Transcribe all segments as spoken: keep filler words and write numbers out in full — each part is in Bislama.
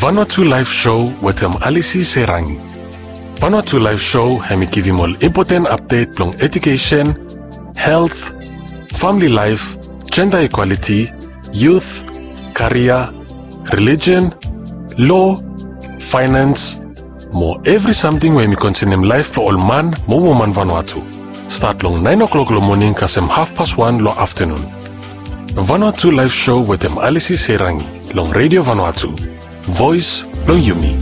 Vanuatu Live Show wetem Alisi Serangi. Vanuatu Live Show hemi givim ol impoten apdet blong edukesen, helt, famili laef, jenda ikwaliti, yut, karia, relijen, lo, faenans, mo evri samting we hemi konsenem laef blong ol man mo woman Vanuatu. Stat long naen o'klok long moning kasem hafpas wan long aftanun. Vanuatu Live Show wetem Alisi Serangi long Redio Vanuatu, voes blong yumi.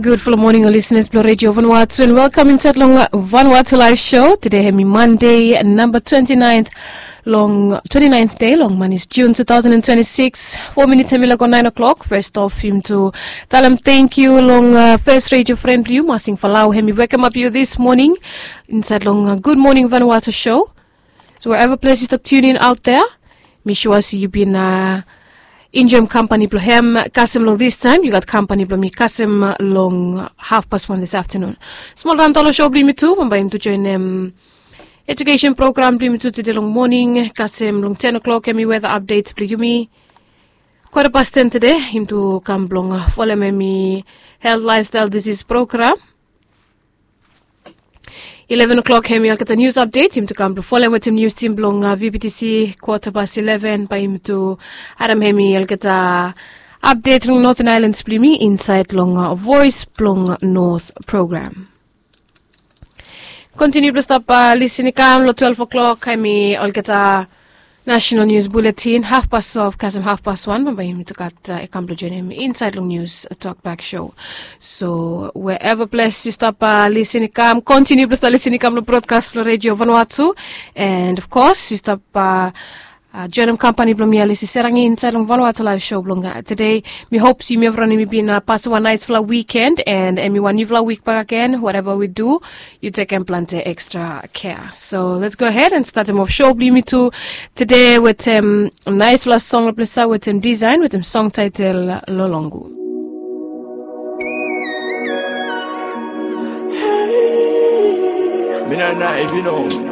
Gudfala moning ol lisenas blong Redio Vanuatu, and welkam insaed long Vanuatu Live Show. Tede hemi Mande namba twenti naen long twenti naen dei long manis Jun tu taosen an twenti sikis. Fo minits hemi lago naen o'klok. Fes of yumi tu talem tangkiu long fes redio fren blong yu Masing Falau, hemi wekemap yu dis moning insaed long Gud Moning Vanuatu Show. So wherever ples yu stap tiun in aot dea, mi sua se yu bin enjoem kampani blong hem kasem long distaem. Yu gat kampani blong mi kasem long hafpas wan dis aftanun. Smol raon tolo show blong yumi tu, bambae yumi tu joenem edukesen program blong yumi tu tede long moning kasem long ten o'klok hemi weta apdet blong yumi. Kwata pas ten tede yumi tu kam blong folem hemi helt, laefstael, disis program. Ileven o'klok hemi olgeta nius apdet yumi tu kam blong folem wetem nius tim blong VBTC. Kwata pas ileven bae yumi tu harem hemi olgeta apdet long Noten Aelans blong yumi insaed long Voes blong Not program. Kontiniu blong stap lisin i kam long twelef o'klok hemi olgeta nasenal nius buletin. Hafpas twelef kasem hafpas wan bambae yumi tu gat i kam blong joenem insaed long nius tokbak show. So wherever ples yu stap lisin i kam, kontiniu blong stap lisin i kam long brodkas blong Redio Vanuatu. And of course yu stap joenem kampani blong mi Alisi Serangi insaed long Vanuatu Live Show blong tede. Mi hop se yumi evriwan yumi bin pasem wan naesfala wiken and hemi wan niufala wik bakegen. Whatever we do, yu tekem plante ekstra kea. So let's go ahead and statem of show blong yumi tu tede wetem naesfala song long ples ia wetem Design wetem song taetel Lolongu. Mina na if you know.